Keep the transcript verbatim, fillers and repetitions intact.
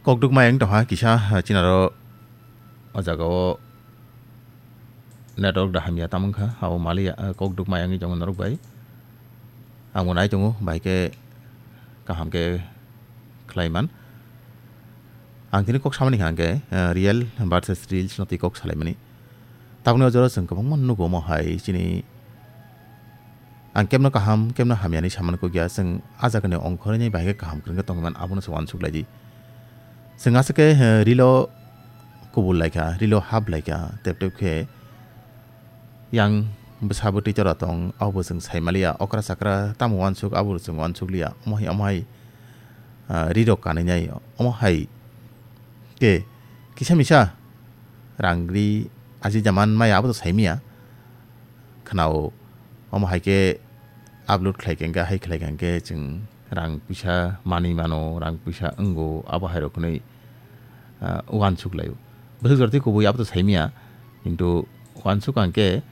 Kokduk mayang tongha kisa, ah, chinaro o jaga o network da hamya tamo wngkha, abo maliya, ah, kokduk mayang wngwi tongo norok bai. Ang bo nai tongo, bai khe kaham khe khlai man. Ang tini kok samani hwnkha hwnkhe, ah, real versus reels no twi kok salaimani. Tabukni o jora chwng kwbangma nugo omo hai chini ang kemno kaham, kemno hamya hinwi samani kok ya, chwng a jagani ongkhorwi nai bahai khe kaham kwrwng khe tongwi man, abono se uansuk lai di. Chwng aswk khe, eh, rilo kubul lai kha, rilo hap lai kha, tep tep khe yang bwsa bwtwi tora tong, abo chwng sai maliya, okra chakra tamo uansuk, abo chwng uansuk liya, omo hai, omo hai, ah, rirok kanwi nai, omo hai khe kisa misa rang ri aji jaman maya abo to saimiya khwnao. Omo hai khe upload khlai khe hwnkhe, hai khlai khe hwnkhe chwng rang puisa manwi mano, rang puisa wngo, abo hai rok hwnwi, ah, uansuk laio. Bwswk jora tei kubui abo to saimiya, kintu uansuk ang khe